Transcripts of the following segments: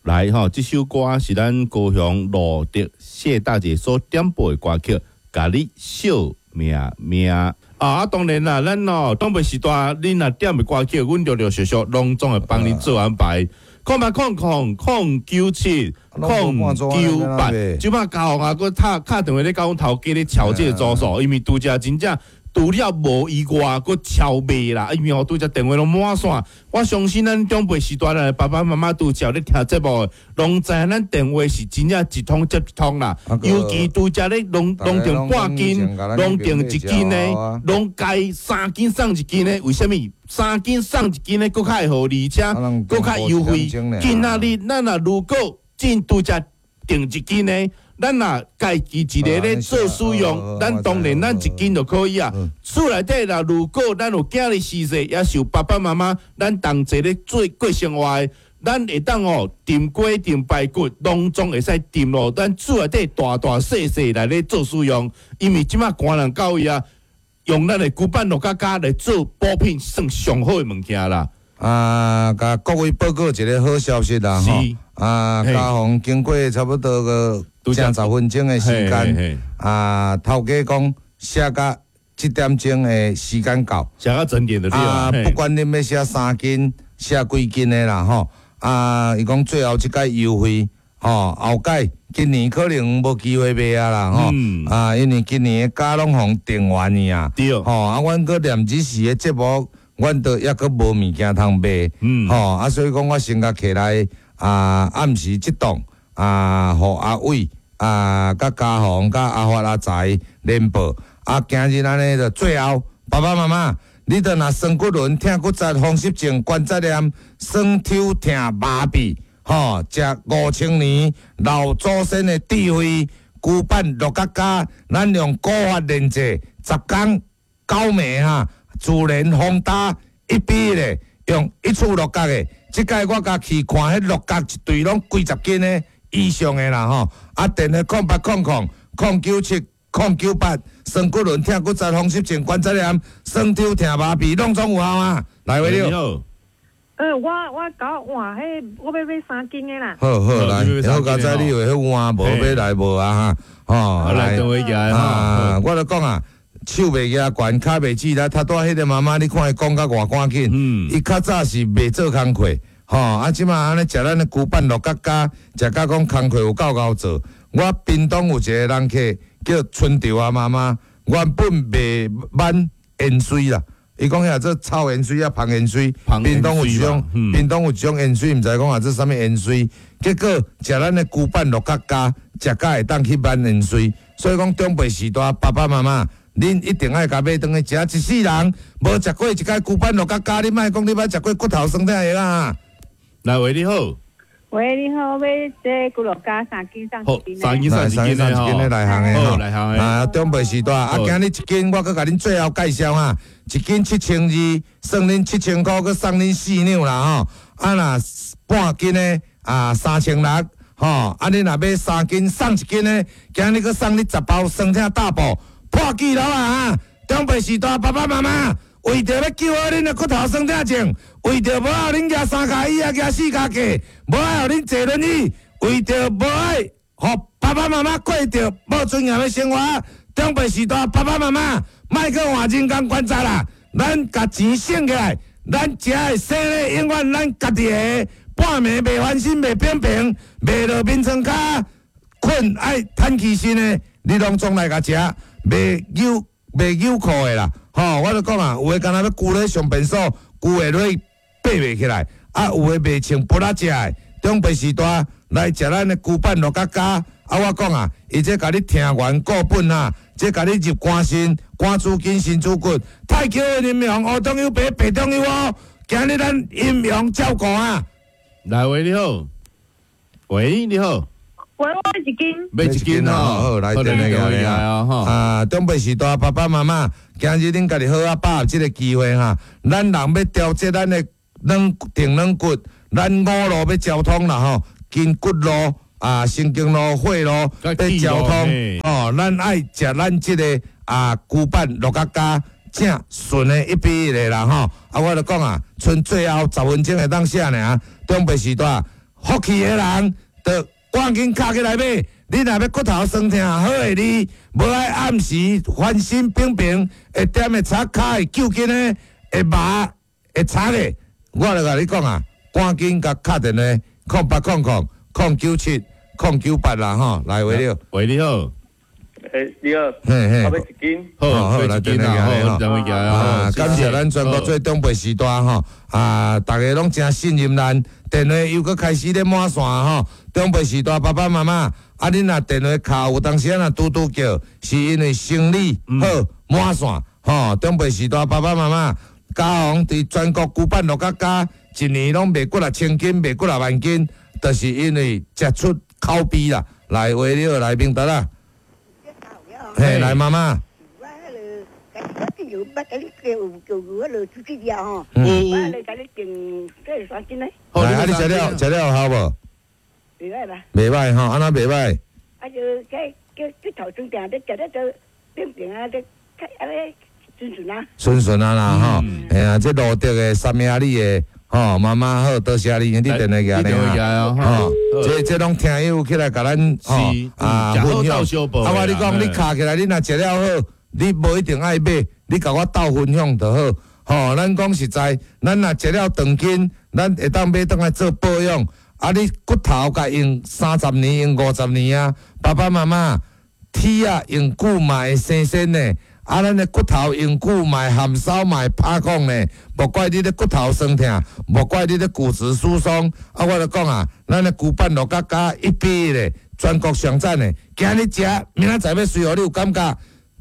來吼，這首歌是咱高雄羅德謝大姐所點播的歌曲，共你惜命命啊！當然啦，咱哦，長輩時代，恁若點的歌曲，阮陸陸續續攏總會幫恁做安排。0800 097 098，這擺嘉宏啊，閣敲敲電話咧，共阮頭家咧敲這個組數，因為拄才真正除了無以外，閣超賣啦，因為哦，拄才電話攏滿線。我相信咱長輩時代的爸爸媽媽拄才咧聽節目，攏知影咱電話是真正一通接一通啦。尤其拄才咧攏訂半斤，攏訂一斤的，攏該3斤送一斤的，為啥物？3斤送一斤的，閣較會好，而且閣較優惠。今仔日咱若如果進拄才訂一斤的，咱若家己一个咧做使用，咱當然咱一斤就可以啊。厝內底若如果咱有囝兒四歲，也是有爸爸媽媽，咱同齊咧做過生活的，咱會當哦燉雞、燉排骨，攏總會使燉咯。咱厝內底大大細細來咧做使用，因為這馬寒人到位啊，用咱的龜板鹿角膠來做補品，算上好的物件啦。啊，共各位報告一個好消息啦，吼！啊，嘉宏經過差不多個成10分鐘的時間，啊，頭家講寫甲這點鐘的時間到，寫到整點就對。啊，不管恁欲寫3斤、寫幾斤的啦，吼！啊，伊講最後這擺優惠，吼，後擺今年可能無機會賣啊啦，吼！啊，因為今年的價攏予定完去啊，吼，啊，阮閣念這時的節目，阮都抑閣無物件通賣，吼啊，所以講我先共揢來啊，暗時這檔啊，予阿偉啊，佮嘉宏、佮阿發、阿財連報啊，今日按呢就最後，爸爸媽媽，你著若酸骨輪、疼骨節、風濕症、關節炎、酸抽疼麻痹，吼，食5000年老祖先的智慧，龜板鹿角膠，咱用古法煉製，10工九暝哈。自然風打一比一的，用一處鹿角的，這擺我共去看，彼鹿角一對攏幾十斤的以上的啦吼。啊，電話0800 097 098，酸骨輪、疼骨節、風濕症、關節炎、酸抽疼麻痹，攏總有效啊！來，喂，你好。我搞換彼，我欲買3斤的啦。好好來，好佳哉你有彼換無欲來無啊哈？吼，來，啊，我就講啊。手袂舉懸，跤袂折力。頭拄彼個媽媽，你看伊講甲偌趕緊。伊較早是袂做工課，吼啊！這馬按呢食咱的龜板鹿角膠，食甲講工課有夠𠢕做。我屏東有一個人客叫春潮啊媽媽，原本賣挽芫荽啦。伊講遐做臭芫荽啊，芳芫荽。屏東有一種，屏東有一種芫荽，毋知講啊做啥物芫荽。結果食咱的龜板鹿角膠，食甲會當去挽芫荽。所以講長輩時代，爸爸媽媽，恁一定愛共買轉去食，一世人無食過一擺龜板鹿角膠，你莫講你捌食過骨頭酸疼藥啊！來，喂，你好。喂，你好，欲這龜鹿膠3斤送一斤。 3斤送一斤的吼，內行的吼，內行的。啊，長輩時代啊，今日一斤我閣共恁最後介紹哈，一斤7200，算恁7000箍，閣送恁4兩啦吼。啊，若半斤的啊3600，吼，啊，你若買3斤送一斤的，今日閣送你10包酸疼大補。破紀錄啊！長輩時代，爸爸媽媽為著欲救好恁的骨頭酸疼症，為著無愛予恁舉三跤椅仔，舉四跤架，無愛予恁坐輪椅，為著無愛予爸爸媽媽過著無尊嚴的生活。長輩時代，爸爸媽媽莫閣換人工關節啦，咱共錢省起來，咱食的生的永遠咱家己的，半暝袂翻身袂扁平，袂落眠床跤，睏愛喘氣身的，你攏總來共食。袂扭袂扭褲的啦，吼！我就講啊，有的敢若欲跍咧上便所，跍會落爬袂起來，啊，有的袂穿菝仔食的，長輩時代來食咱的龜板鹿角膠，啊，我講啊，伊這共你聽源固本啊，這共你入肝腎、肝主筋、腎主骨，太極的陰陽，烏中有白，白中有烏，今日咱陰陽照顧啊！來，喂，你好，喂，你好。喂，我欲一斤，欲一斤哦，好，來電話來啊！啊，長輩時代爸爸媽媽，今日恁家己好好把握這個機會哈。咱人欲調節咱的軟定軟骨，咱五路欲交通啦吼，筋骨路啊，神經路、血路欲交通哦。咱愛食咱這個啊，龜板鹿角膠正順的一比一的啦吼。啊，我就講啊，賰最後10分鐘會當寫爾，長輩時代。福氣的人，就趕緊敲起來買。你若欲骨頭酸疼好的你，無愛暗時翻身平平，會點會擦跤會揪筋的，會麻會擦的，我就共你講啊，趕緊共敲電話，0800 097 098啦吼，來話了。喂，你好。欸，你好，嘿嘿，我欲一斤。好，好，來電話好，啊，感謝咱全國做長輩時代吼，啊，逐家攏誠信任咱，電話又閣開始咧滿線吼，長輩時代爸爸媽媽，啊，恁若電話敲有當時仔若拄拄叫，是因為生理好滿線吼，長輩時代爸爸媽媽，家雄佇全國龜板六甲加，一年攏賣幾若千斤，賣幾若萬斤，就是因為食出口碑啦，來話了來明達啦。嘿，來媽媽。我彼个，我有捌共你叫叫彼落出去了吼，我來共你訂這三斤咧。來，啊，你食了食了好無？袂歹啦。袂歹吼，按怎袂歹？啊，就這叫骨頭酸疼，你食了就變變啊，你較按呢順順啊。順順啊啦吼，嘿啊，這路德的三明里的吼，媽媽好，多謝你，你電話寄來啊，吼，這這攏聽友起來共咱吼啊分享。啊，我你講，你敲起來，你若食了好，你無一定愛買，你共我鬥分享就好。吼，咱講實在，咱若食了長筋，咱會當買轉來做保養。啊，你骨頭共用30年，用50年啊，爸爸媽媽，鐵仔用久嘛會生鉎呢。啊，咱的骨頭用久嘛會含梢嘛會拍講呢，莫怪你咧骨頭酸疼，莫怪你咧骨質疏鬆。啊，我就講啊，咱的龜板六甲加一比一咧，全國上讚的。今日食，明仔載欲隨予你有感覺。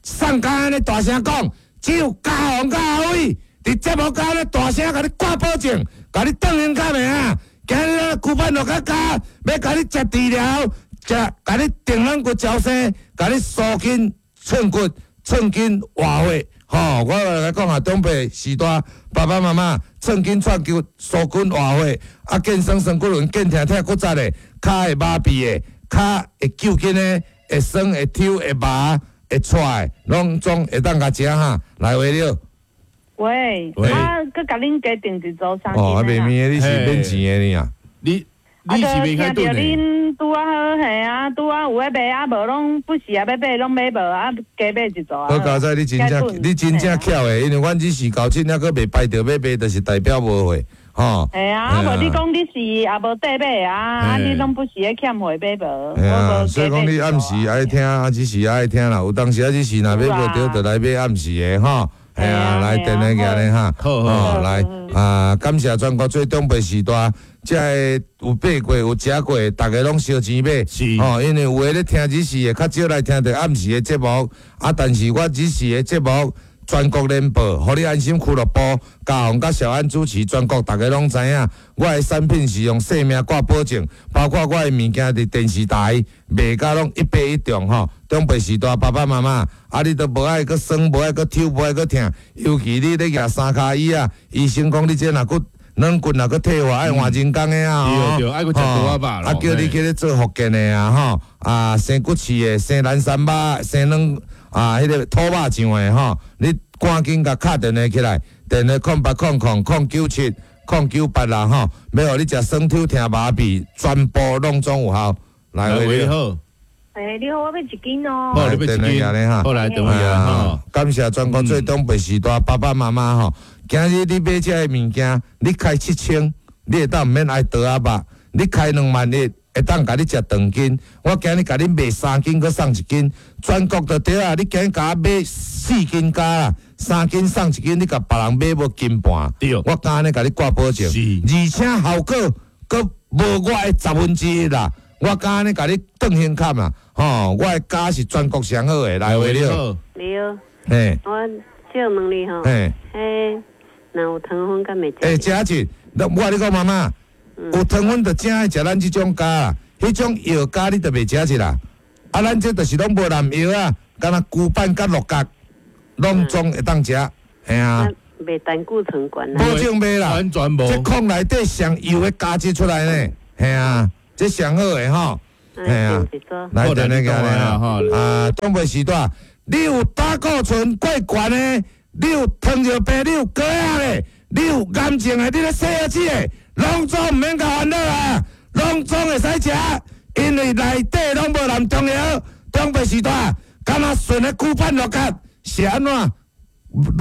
送工按呢大聲講，只有家雄佮阿偉佇節目佮按呢大聲共你掛保證，共你當胸較袂啊？今日咱龜板六甲加，欲共你食治療，食共你定軟骨矯生，共你舒筋寸骨。寸筋活血，吼！我來講啊，長輩時代，爸爸媽媽寸筋寸骨舒筋活血，啊，健酸酸骨輪，健疼疼骨折的，跤會麻痹的，跤會揪筋的，會酸會抽會麻會掣的，攏總會當共食哈。來話了。喂，啊，閣共恁加訂一組三斤。哦，啊，袂免的，你是免錢的呢啊？你。啊，就聽著恁拄仔好，嘿啊，拄仔有咧賣啊，無攏不時啊，欲買攏買無啊，加買一組啊。好佳哉，你真正你真正巧的，因為阮只是到這還閣袂排著欲賣，就是代表無貨，吼。嘿啊，啊無你講你是也無綴買啊，啊你攏不時咧欠貨買無。嘿啊，所以講你暗時愛聽，啊只是愛聽啦，有當時啊只是若買無著，就來買暗時的吼。嘿啊，來電話寄來哈，吼來啊，感謝全國做長輩時代，這个有買過有食過，逐家攏燒錢買，吼，因為有的咧聽只時的，較少來聽著暗時的節目，啊，但是我只時的節目全國聯播，予你安心俱樂部，嘉宏佮小安主持，全國逐家攏知影。我的產品是用性命掛保證，包括我的物件佇電視台賣甲攏一發一中吼。長輩時代爸爸媽媽，啊，你都無愛閣酸，無愛閣抽，無愛閣疼，尤其你咧舉三跤椅仔，醫生講你這若閣軟骨若閣退化，愛換人工的啊，對對，愛閣食藥仔肉。啊，叫你去咧做復健的啊，吼，啊，生骨刺的，生蘭山肉，生軟啊，彼个土肉醬的吼，你趕緊共敲電話起來，電話0800 097 098啦吼，欲予你食酸抽疼麻痹，全部攏總有效。來，喂，你好。欸，你好，我欲一斤哦。好，你欲一斤。好，來電話哈。感謝全國做長輩時代爸爸媽媽吼，今日你買這个物件，你開7000，你會當毋免愛刀仔肉；你開2萬一，會當共你食長筋。我今日共你賣3斤，閣送一斤，全國就對啊！你今日共我買4斤加啦，3斤送一斤，你共別人買無斤半。對，我敢按呢共你掛保證，而且效果閣無我的1/10啦。我敢按呢共你當胸坎啦，吼！我的膠是全國上好的，來話了。你好。嘿。我想問你吼。嘿。彼若有糖分敢袂？欸，食一，我共你講媽媽，有糖分就正愛食咱這種膠啦，彼種藥膠你就袂食一啦。啊，咱這就是攏無濫藥啊，敢若龜板佮鹿角，攏總會當食，嘿啊。袂膽固醇懸啊？保證袂啦，完全無。這礦內底上油的膠質出來呢，嘿啊。這上好的吼，嘿啊，來電話過來啊，啊，長輩時代，你有膽固醇過懸的，你有糖尿病，你有高壓的，你有癌症的，你咧洗腰子的，攏總毋免共煩惱啊，攏拢总会使食，因为内底拢无含中药，中白时代，敢若纯的龟板鹿角是按怎？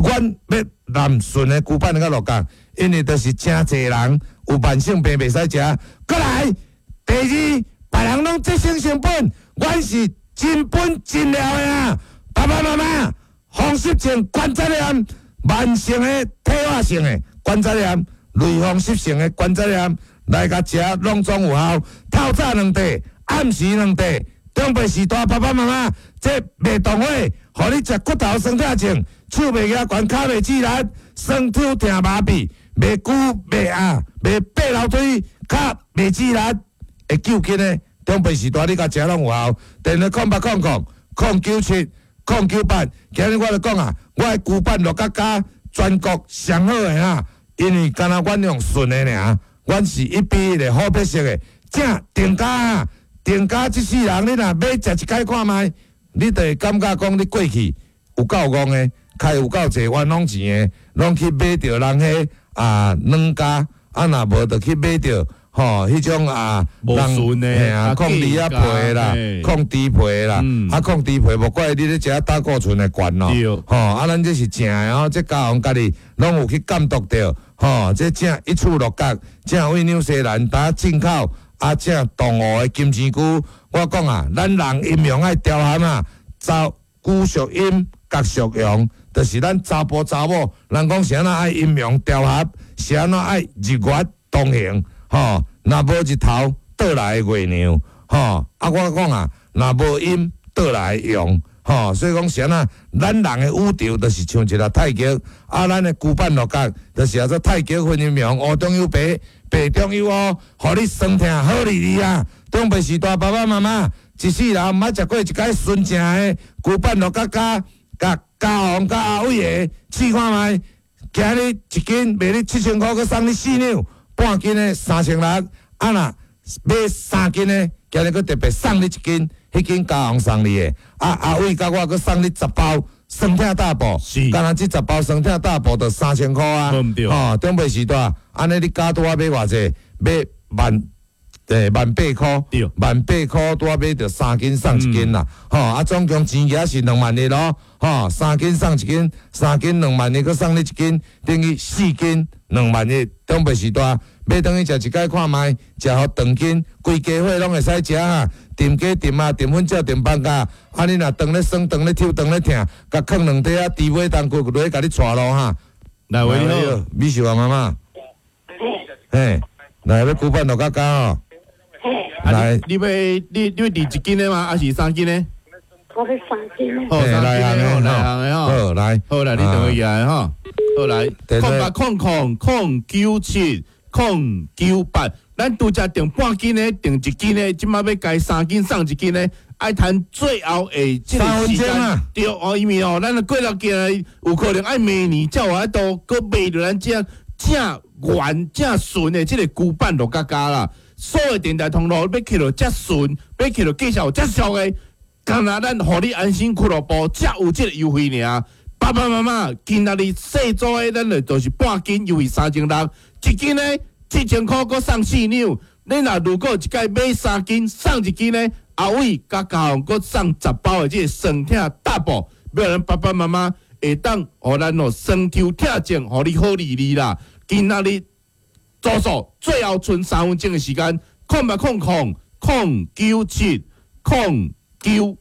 阮欲含纯的龟板佮鹿角，因为就是诚济人有慢性病袂使食。阁来，第二，别人拢节省成本，阮是真本真料的啊！爸爸妈妈，风湿性关节炎、慢性的退化性的关节炎、类风湿性的关节炎，来共食拢总有效。透早两袋，暗时两袋。中白时代爸爸妈妈，这袂动火，予你食骨头酸痛症，手袂举悬，跤袂趺力，酸痛疼麻痹，袂久袂压，袂爬楼梯，跤袂趺力，会救紧的。中白时代你共食拢有效。电话0800 097 098。今日我就讲啊，我的龟板鹿角胶全国上好的啊，因为敢若阮用纯的尔，阮是一比一的好配色的，正定价啊。定价这世人，你若买食一摆看觅，你就会感觉讲你过去有够戆的，开有够济冤枉钱的，拢去买著人彼啊软胶，啊若无就去买著吼彼种啊无纯的，嘿啊，控猪仔皮的啦，控猪皮的啦，啊控猪皮无怪你咧食胆固醇会悬咯，吼啊咱这是正的吼，这家王家己拢有去监督著，吼这正一处鹿角，正为纽西兰打进口。啊，正东湖的金钱菇，我讲啊，咱人阴阳爱调和啊，查龟属阴，角属阳，就是咱查埔查某，人讲是按怎爱阴阳调和，是按怎爱日月同行，吼，若无日头倒来的月亮，吼，啊，我讲啊，若无阴倒来的阳，吼，所以讲是按怎，咱人的宇宙就是像一个太极，啊，咱的龟板鹿角就是叫做太极分阴阳，乌中有白。白中有乌，予你酸痛好利利啊！中白时代爸爸妈妈一世人毋捌食过一摆纯正的龟板鹿角胶，共家王佮阿伟的试看觅。今日一斤卖你7000箍，阁送你4两，半斤的3600。啊若买3斤的，今日阁特别送你一斤，彼斤家王送你的。啊阿伟佮我阁送你10包。酸痛大补，敢若这10包酸痛大补就3000箍啊！吼，中白时代，按呢你加拄仔买偌济？买万八箍，万八箍拄仔买著3斤送1斤啦！吼，啊总共钱额是2万一咯，吼，3斤送1斤，3斤2万一，阁送你1斤，等于4斤2万一。中白时代欲转去食一摆看觅，食予长筋，规家伙拢会使食啊！沉鸡沉啊，沉粉鸟沉放假，啊你若肠咧酸，肠咧抽，肠咧疼，共囥两块啊，猪尾冬骨落去共你带路哈。来，喂，你好，美秀啊妈妈。嘿，来欲龟板鹿角胶哦。来，你欲你欲订一斤的吗？还是3斤的？我欲3斤的。好，3斤的，内行的吼。好，来，好来，你转去来吼。好来，0800 097 098。咱拄才订半斤的，订一斤的，这马欲加3斤送1斤的，爱趁最后的这个时间。对哦，因为哦，咱过了今日有可能爱明年才有法度阁卖著咱这正原正纯的这个龟板鹿角胶啦。所有电台通路欲去著遮纯，欲去著介绍遮俗的，干焦咱予你安心俱乐部才有这个优惠尔。爸爸妈妈，今仔日细组的咱就是半斤优惠3600，一斤呢7000箍，阁送4两。你若如果一摆买3斤送1斤呢，阿伟佮家王阁送10包的这个酸痛大补，欲予咱爸爸妈妈会当予咱哦酸抽痛症，予你好利利啦。今仔日做数最后賰3分钟的时间，0800 097 098。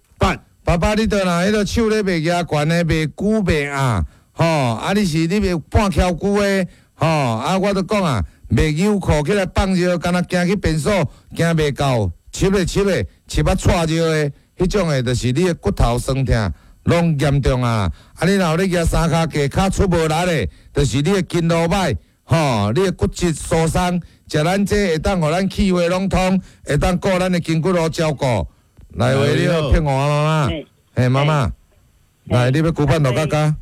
爸爸，你倒若彼个手咧袂举悬的，袂久袂压，吼，啊你是你袂半翘久的，吼，啊我著讲啊，袂纽裤起来放尿，敢若行去便所，行袂到，湿咧湿咧，湿啊掣尿的，彼种的，就是你的骨头酸痛拢严重啊！啊，你若有咧举三跤架，跤出无力的，就是你的筋路歹，吼，你的骨质疏松，食咱这会当予咱气血拢通，会当顾咱的筋骨路照顾。来，喂，你好，骗我妈妈，嘿，妈妈，来，你欲龟板鹿角胶？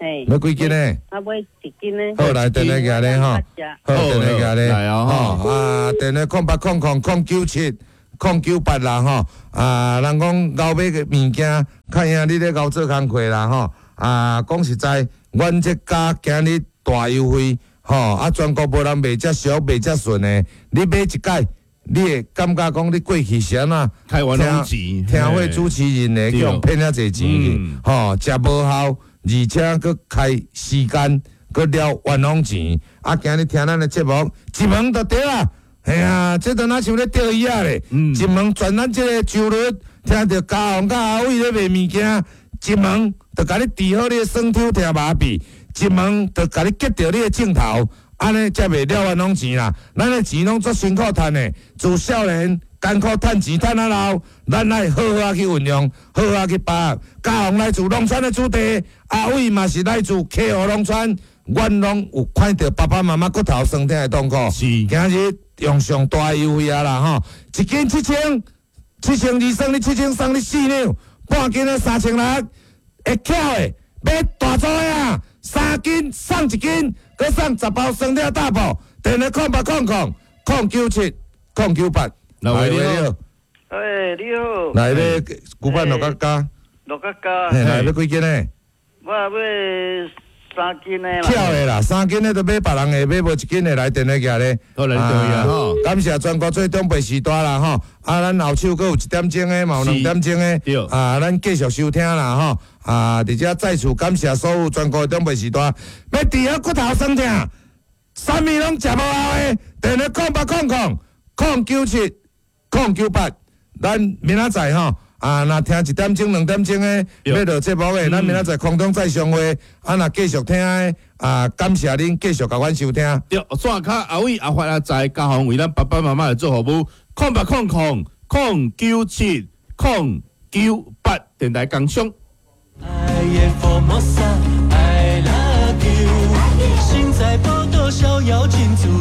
欲几斤呢？啊，买1斤呢。好，来，电话寄咧吼，好，电话寄咧，吼，啊，电话0800 097 098啦吼，啊，人讲熬买个物件，较赢你咧熬做工课啦吼，啊，讲实在，阮这家今日大优惠，吼，啊，全国无人卖遮俗，卖遮顺的，你买一摆，你會感覺講你過去是按怎開冤枉錢，聽會主持人的，去予騙遐濟錢去，吼，食無效，而且閣開時間，閣了冤枉錢。啊，今日聽咱的節目，一問就對啦。嘿啊，這都若像咧釣魚仔咧，一問全咱這个周日聽著嘉宏佮阿偉咧賣物件，一問就共你治好你的酸抽疼麻痹，一問就共你結著你的症頭。按呢才袂了冤枉錢啦。咱的錢攏足辛苦趁的，自少年艱苦趁錢趁啊老，咱愛好好仔去運用，好好仔去把握。嘉宏來自農村的子弟，阿偉嘛是來自溪湖農村，阮攏有看著爸爸媽媽骨頭酸痛的痛苦。今日用上大優惠啊啦吼，一斤七千，7200送你7000，送你四兩，半斤的3600，會巧的買大組的啊，3斤送一斤，閣送10包酸痛大補。電話0800 097 098。來你好，欸，你好。來買古板六角加。六角加。嘿，來買幾斤的？我買3斤的啦。巧的啦，3斤的就買別人的，買無一斤的來電話寄咧。好來對啊，吼。感謝全國做長輩時代啦，吼。啊，咱後手閣有一點鐘的，嘛有兩點鐘的。啊，咱繼續收聽啦，吼。啊，佇遮再次感謝所有全國的長輩時代，欲治好骨頭酸痛，啥物攏食無效的，電話0800 097 098，咱明仔載吼。啊，若聽一點鐘、兩點鐘的，欲落節目的，咱明仔載空中再相會。啊，若繼續聽的，啊，感謝恁繼續共阮收聽。對，線跤阿偉、阿發、阿在，嘉宏為咱爸爸媽媽來做服務。0800 097 098，電台工商。愛的福摩薩，I love you，身在寶島逍遙真自由。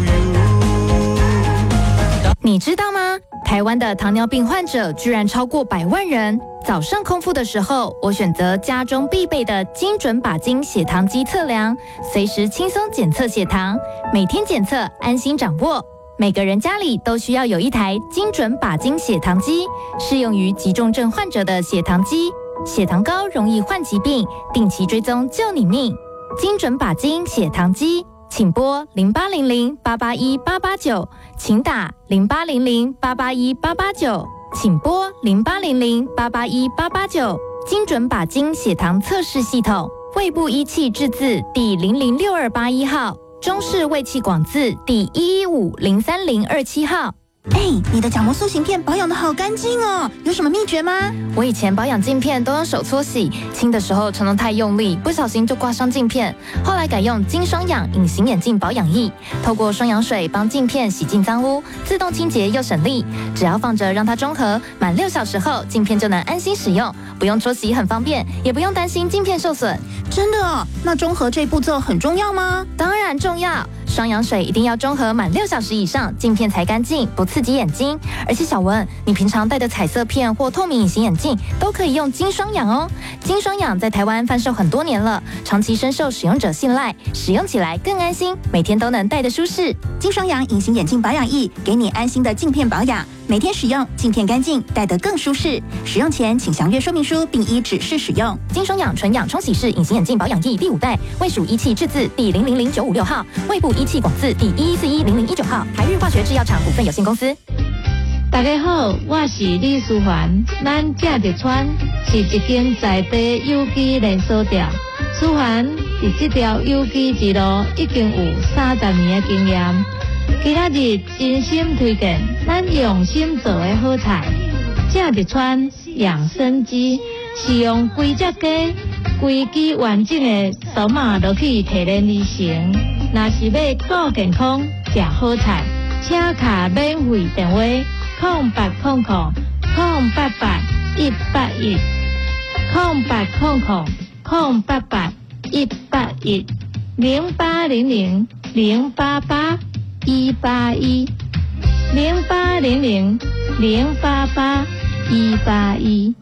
你知道嗎？台灣的糖尿病患者居然超過100萬人。早上空腹的時候，我選擇家中必備的精準靶精血糖機測量，隨時輕鬆檢測血糖，每天檢測，安心掌握。每個人家裡都需要有一台精準靶精血糖機，適用於急重症患者的血糖機。血糖高容易患疾病，定期追蹤救你命。精準靶精血糖機。請撥0800-881-889，請打0800-881-889，請撥0800-881-889。精準靶精血糖測試系統，衛部醫器製字第006281號，中式衛器廣字第11503027號。哎，你的角膜塑形片保養得好乾淨哦，有什麼秘訣嗎？我以前保養鏡片都用手搓洗，清的時候常常太用力，不小心就刮傷鏡片。後來改用金雙氧隱形眼鏡保養液，透過雙氧水幫鏡片洗淨髒污，自動清潔又省力。只要放着讓它中和，滿6小時後鏡片就能安心使用，不用搓洗很方便，也不用擔心鏡片受損。真的哦？那中和這步驟很重要嗎？當然重要。雙氧水一定要中和滿6小時以上，鏡片才乾淨，不刺激眼睛。而且小文，你平常戴的彩色片或透明隱形眼鏡都可以用金雙氧哦。金雙氧在台灣販售很多年了，長期深受使用者信賴，使用起來更安心，每天都能戴得舒適。金雙氧隱形眼鏡保養液，給你安心的鏡片保養，每天使用鏡片乾淨，戴得更舒適。使用前請詳閱說明書，並依指示使用。金雙氧純氧沖洗式隱形眼鏡保養液第五代，衛署醫器製字第000956號，衛部醫器廣字第11410019號，台日化學製藥廠股份有限公司。大家好，我是李淑環。咱正德川是一間在地有機連鎖店。淑環佇這條有機之路已經有30年的經驗。今仔日真心推薦咱用心做的好菜。正德川養生雞是用規隻雞、規支完整的刀仔落去提煉而成。若是欲顧健康、食好菜，請敲免費電話。0800 088 181，0800 088 181，0800 088 181，0800 088 181。